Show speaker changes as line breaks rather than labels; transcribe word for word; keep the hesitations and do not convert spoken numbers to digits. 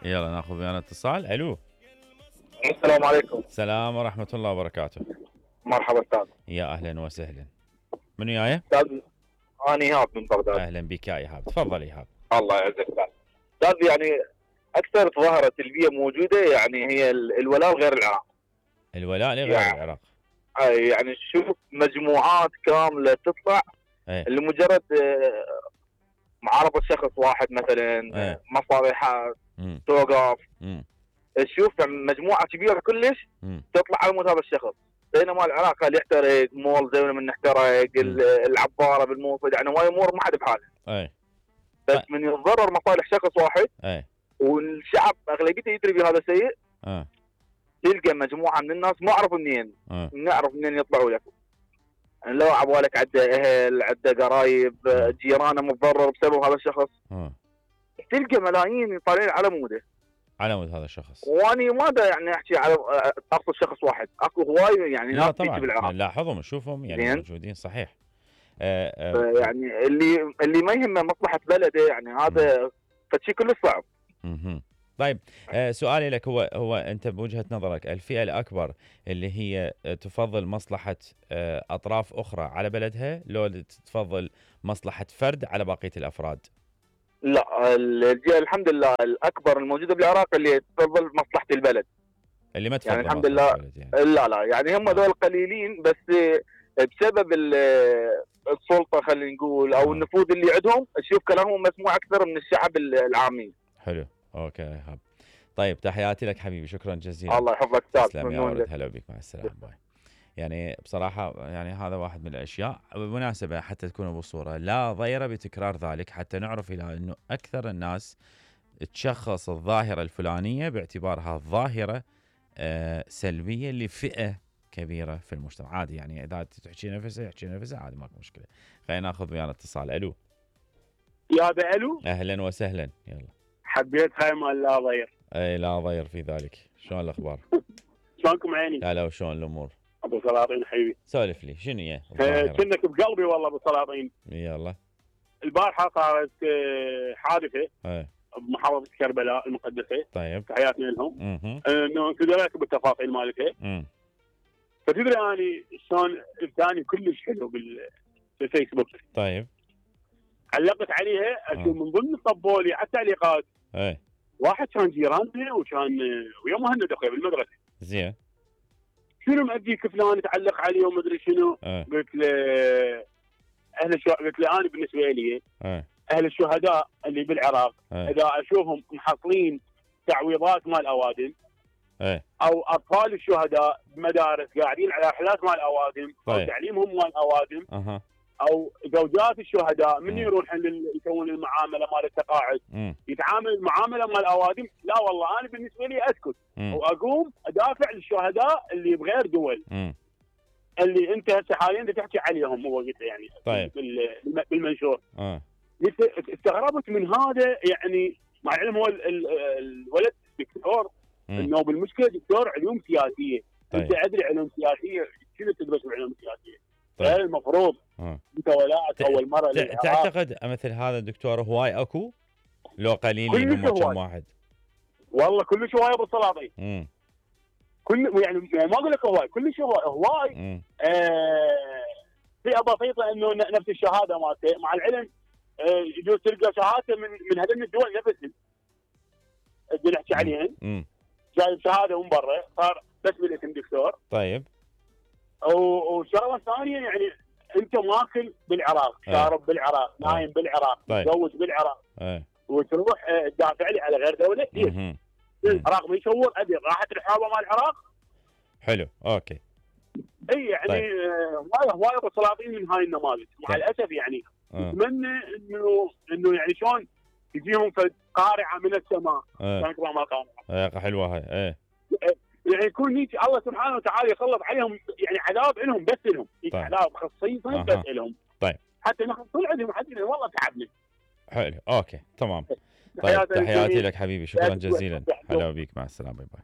يلا ناخذ ويانا اتصال. الو
السلام عليكم.
السلام ورحمة الله وبركاته.
مرحبا استاذ.
يا اهلا وسهلا. من وياي؟
استاذ انا ايهاب من بغداد.
اهلا بك يا ايهاب، تفضل ايهاب.
الله يعزك استاذ. استاذ يعني اكثر ظاهرة سلبية موجودة يعني هي الولاء لغير العراق.
الولاء لغير
يعني
العراق.
اي يعني شوف مجموعات كاملة تطلع
ايه.
لمجرد معارضة شخص واحد مثلا،
ايه.
مصالحات
مم.
توقف.
مم.
تشوف مجموعة كبيرة كلش
مم.
تطلع على مود هذا الشخص، بينما العراق اللي يحترق مول زي من نحترق العبارة بالموفد، يعني هواي امور ما حد بحاله.
ايه.
بس
اه.
من يتضرر مصالح شخص واحد
ايه.
والشعب اغلبيته يدري بهذا الشيء.
اه.
تلقى مجموعة من الناس ما اعرف منين،
اه.
نعرف منين يطلعوا لك. يعني لو عبالك عده اهل، عده قرايب،
اه.
جيرانه متضرر بسبب هذا الشخص.
اه.
تلقى ملايين طالعين على موده،
على مود هذا الشخص.
واني ما دا يعني احكي على اقصد شخص واحد، اكو هواي يعني
لا
ناس
طبعا
بالعراق
نلاحظهم نشوفهم يعني
زين.
موجودين صحيح. آه آه
يعني اللي اللي ما يهمه مصلحه بلده يعني هذا فشي كله صعب.
مهم. طيب آه سؤالي لك هو هو انت بوجهة نظرك الفئة الاكبر اللي هي تفضل مصلحة آه اطراف اخرى على بلدها، لو تفضل مصلحة فرد على بقية الافراد؟
لا الجهة الحمد لله الاكبر الموجودة بالعراق اللي تفضل مصلحة البلد،
اللي ما تفضل
يعني الحمد لله
يعني.
لا لا يعني هم دول قليلين بس بسبب السلطة خلينا نقول او
آه.
النفوذ اللي عندهم تشوف كلامهم مسموع اكثر من الشعب العامي.
حلو اوكي يا ايهاب. طيب تحياتي لك حبيبي، شكرا جزيلا.
الله يحفظك استاذ.
تسلم يا ولد، هلا بك، مع السلامه. باي. يعني بصراحه يعني هذا واحد من الاشياء بالمناسبه حتى تكون بصوره لا ضير بتكرار ذلك، حتى نعرف الى انه اكثر الناس تشخص الظاهره الفلانيه باعتبارها ظاهره آه سلبيه لفئه كبيره في المجتمع. عادي يعني اذا تحكي نفسها يحكي نفسها عادي ماكو مشكله. خلينا ناخذ ويانا اتصال. الو
يا بألو.
اهلا وسهلا. يلا
حبيت هاي مال لا ضير.
اي لا ضير في ذلك. شلون الاخبار؟
شلونكم عيني؟
هلا وشلون الامور؟
ابو سلاطين حبيبي.
سولف لي شنو هي؟
كنك بقلبي والله ابو سلاطين.
يلا.
البارحه صارت حادثه
ايه
بمحافظه كربلاء المقدسه.
طيب
تحياتي لهم.
اها.
انه انت لك بالتفاصيل مالتها.
امم
فتدري اني شلون الثاني كلش حلو بالفيسبوك.
طيب
علقت عليها اشوف من ضمن طبولي على التعليقات.
ايه
واحد كان جيراننا وكان ويا مهند اخوي بالمدرسه.
زين.
شنو مأديك فلان تعلق عليه وما ادري شنو.
ايه.
قلت له اهل الشو... قلت له انا بالنسبه لي
ايه.
اهل الشهداء اللي بالعراق
ايه.
اذا اشوفهم محصلين تعويضات مال اوادم
ايه.
او اطفال الشهداء بمدارس قاعدين على رحلات مال اوادم.
طيب.
او تعليمهم مال اوادم.
اها.
او زوجات الشهداء من
مم.
يروح يسوون المعامله مال التقاعد
امم
يتعامل المعامله مال الاوادم. لا والله انا بالنسبه لي اسكت
مم.
واقوم ادافع للشهداء اللي بغير دول
امم
اللي انت هسه حاليا تحكي عليهم. هو قلت يعني
طيب.
بالمنشور.
اه
استغربت من هذا يعني مع العلم هو ال ال الولد دكتور انه بالمشكله دكتور علوم سياسيه.
طيب.
انت ادري علوم سياسيه شنو تدرس بالعلوم السياسيه؟
طيب.
المفروض
آه.
انت ولعت اول مره
ت... تعتقد مثل هذا الدكتور هواي اكو لو قليلين هم كم واحد؟
والله كلش هواي ابو سلاطين.
امم
كل يعني ما اقول لك هواي كلش هواي هواي. آه فئه بسيطه انه نفس الشهاده مالته مع العلم آه يجوز تلقى شهاده من من هذين الدول نفسهم اللي نحكي عليهن.
امم
جايب شهاده من برا صار بس بالاسم دكتور.
طيب.
وشغله ثانيه يعني انت ماكل بالعراق، شارب بالعراق، نايم بالعراق، متزوج
طيب.
بالعراق.
ايه.
وتروح تدافع لي على غير دوله كثير. العراق بيشور ابي راحه الحوابه مال العراق.
حلو اوكي.
اي يعني طيب. هواي هواي ابو سلاطين من هاي النماذج مع طيب. الاسف يعني اتمنى انه انه يعني شلون تجيهم قارعه من السماء. كانت ما قارعه.
ايه حلوه هاي. ايه
يعني يكون هيك الله سبحانه وتعالى يسلط عليهم يعني عذاب لهم بس لهم. طيب. عذاب خصيصا أه. بس لهم.
طيب.
حتى نحن طول عندهم حد والله تعبنا.
حلو اوكي تمام. طيب تحياتي لك حبيبي، شكرا جزيلا. هلا بيك، مع السلامه. باي باي.